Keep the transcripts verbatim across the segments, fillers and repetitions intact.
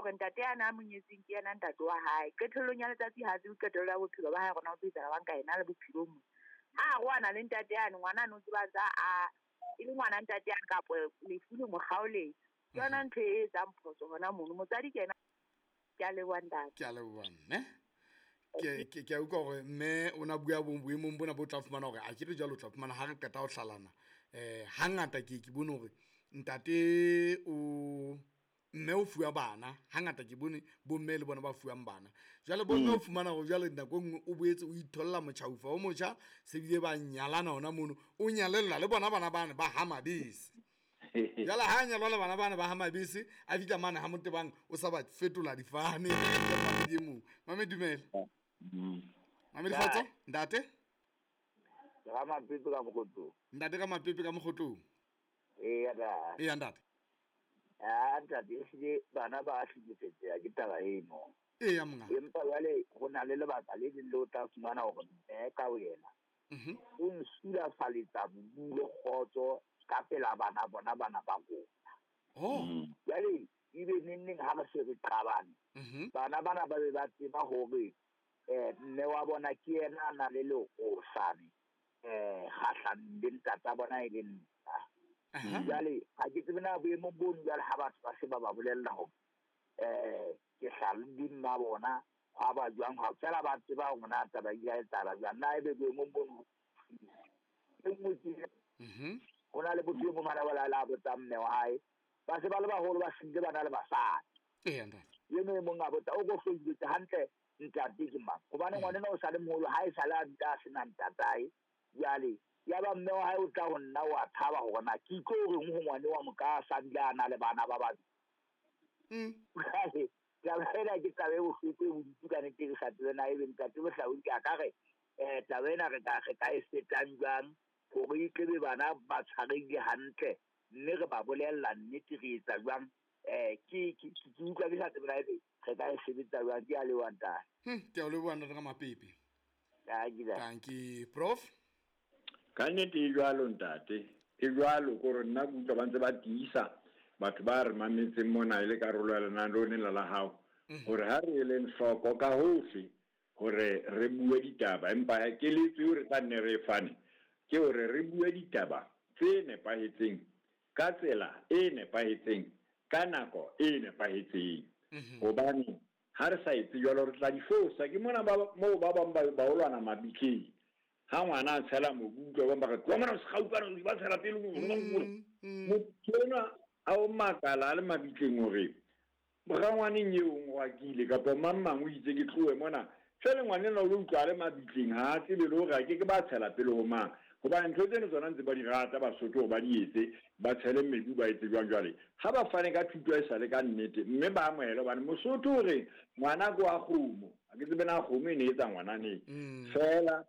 hore ntate yana a monyetseng ke yena ntate wa hae. Qetellong ya letsatsi ha tsebe qetello ya bophelo ba hae rona o tlo etsahala bang ka yena le bophelong mo. Ha a roana le ntate yane ngwana no tseba tsa a e le ngwana ntate yane kapa lefu le mo kgaoletse. Ke yona ntho e etsang phoso hona mono. Motswadi ke yena. Ke a leboha ntate. Ke a leboha mme. Ke ke ke a utlwa hore mme o na bua boemong bona bo tla fumana hore a ke re jwalo o tla fumana ha re qeta ho hlalana. Eh hangata ke ke bone hore ntate o mme o fuwa bana, hangata ke bone bomme le bona ba fuwang bana. Jwale bomme o fumana hore jwale nako e nngwe o boetse o itholla motjhaufa o motjha, se bile ba nyalana hona mono, o nyalella le bona bana bane ba ha mabese. Jwale ha nyalwa le bana bana ba ha mabese, a fihla mane ha Motebang o sa ba fetola difane. Mamedi e mong. Mame dumela. Mame kgotso, ntate? Ka Mapepe ka Mokgotlong. Ntate ka Mapepe ka Mokgotlong. Eya ntate. Eya ntate. Ah ntate, ehlile bana ba hlekefetseha ke taba eno. Eya monga. Empa jwale ho na le lebaka le leng le o tla fumana hore mme ka wena Mhm. o nsulafaletsa bodulo kgotso ka pela bana bona bana ba rona. Oh. Jwale ebe neng neng ha re se re qabane, Mhm. bana bana ba be ba tseba hore eh mme wa bona ke yena a na le leosane eh kgahlanong le ntata bona e le nna. Aha. Jwale ha ke tsebe na boemong bono jwale ha batho ba se ba ba bolella hore eh ke hlalodi mma bona hwa ba jwang, ha fela ba tseba hore na taba e ya etsahala jwang. Na ebe boemong bono e nngwe ke Mhm. ho na le botho e mong hana ba la botsa mme wa hae, ba se ba le baholo ba hlile ba na le basadi. Eya ntate. Eno e mong a botsa o ko hloketse hantle ntate ke mang, hobane ngwana o sa le moholo ha e sale a dula a sena ntatae. Jwale ya ba mme wa hae o tla ho nna wa thaba hore na ke tlo reng ho ngwane wa moka a sa dula a na le bana ba babedi. Mm. Jwale taba ena ke taba e bohloko e bodutu ka nnete, ke sa tsebe na ebe ntate Mohlaodi a ka re eh taba ena re ka re ka e fetang jwang hore e tlebe bana ba tshwarehile hantle mme re ba bolella nnete re etsa jwang. Eh ke ke ke utlwa ke sa tsebe na ebe re ka e sebetsa jwang. Ke a leboha ntate. Hm, ke a leboha ntate ka Mapepe. Dankie. Dankie prof. Ka nnete e jwalo ntate, e jwalo kore nna ke utlwa ba ntse ba tiisa batho ba re mametseng mona e le karolo ya lenaneo lena la hao, hore ha re eleng hloko ka hohle hore re bue ditaba, empa keletso eo re tla nne re e fane ke hore re bue ditaba tse nepahetseng ka tsela e nepahetseng ka nako e nepahetseng. Hobane ha re sa etse jwalo re tla di fosa. Ke mona ba moo ba bang ba ba olwana mabitleng. Ha ngwana a tshela mobu, utlwa ba bang ba re, tloha mona, o se gaufi, ba tshela pele, motho enwa a o makala a le mabitleng hore rangwaneng eo o ngwakile kapa mang mang o itse ke tlohe mona. Jwale ngwana enwa o lo utlwa a le mabitleng, ha a tsebe le hore a ke ke ba tshela pele ho mang. Hobane ntho tseno tsona ntse ba di rata Basotho hore ba di etse, ba tshele mebu ba etse jwang jwale. Ha ba fane ka thuto e sale ka nnete, mme ba amohele hobane Mosotho o re ngwana ke wa kgomo. Ha ke tsebe na kgomo e ne etsa ngwana neng. Feela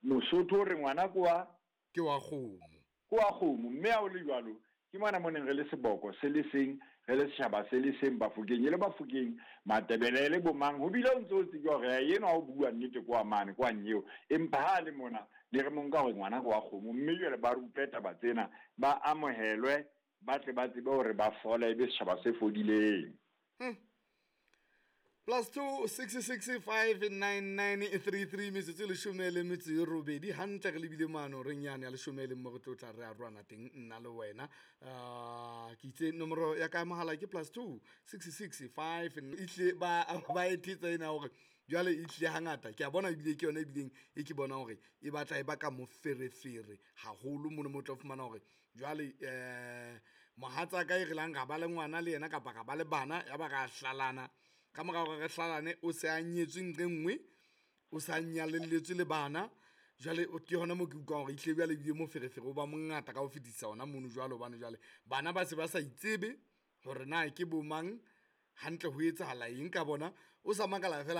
Mosotho o re ngwana ke wa ke wa kgomo. Ke wa kgomo, mme ha o le jwalo ke mona mo neng re le seboko se le seng, re le setjhaba se le seng, Bafokeng e le Bafokeng, Matebele e le bomang. Ho bile o ntse o tsebe hore enwa o bua nnete kwa mane kwa nyeo, empa ha le mona le re mo nka hore ngwana ke wa kgomo. Mme jwale ba rutwe taba tsena, ba amohelwe, ba tle ba tsebe hore ba fole, ebe setjhaba se fodileng. Hmm. Plus two six six five nine nine three three metsotso e leshome le metso e robedi hantle re lebile mano reng yane ya leshome le mo re tlo tla re a rwana teng nna le wena. Ah, ke itse nomoro ya ka mohala ke plus two six six five itle ba ba e thetsa ena hore jwale e tlile hangata ke a bona ebile ke yona ebileng e ke bona hore e batla e baka moferefere haholo mono mo tla fumana hore jwale eh mohatsa ka e re lang ga ba le ngwana le yena kapa ga ba le bana ya ba ga hlalana. Ka mora hore re hlalane o se a nyetswe nqe nngwe, o sa nyalelletswe le bana. Jwale o ke hona moo ke utlwang hore ehlile jwale ebile moferefere o ba mongata ka ho fetisa hona mono jwalo, hobane jwale bana ba se ba sa itsebe hore na ke bo mang hantle ho etsahala eng ka bona. O sa makala fela.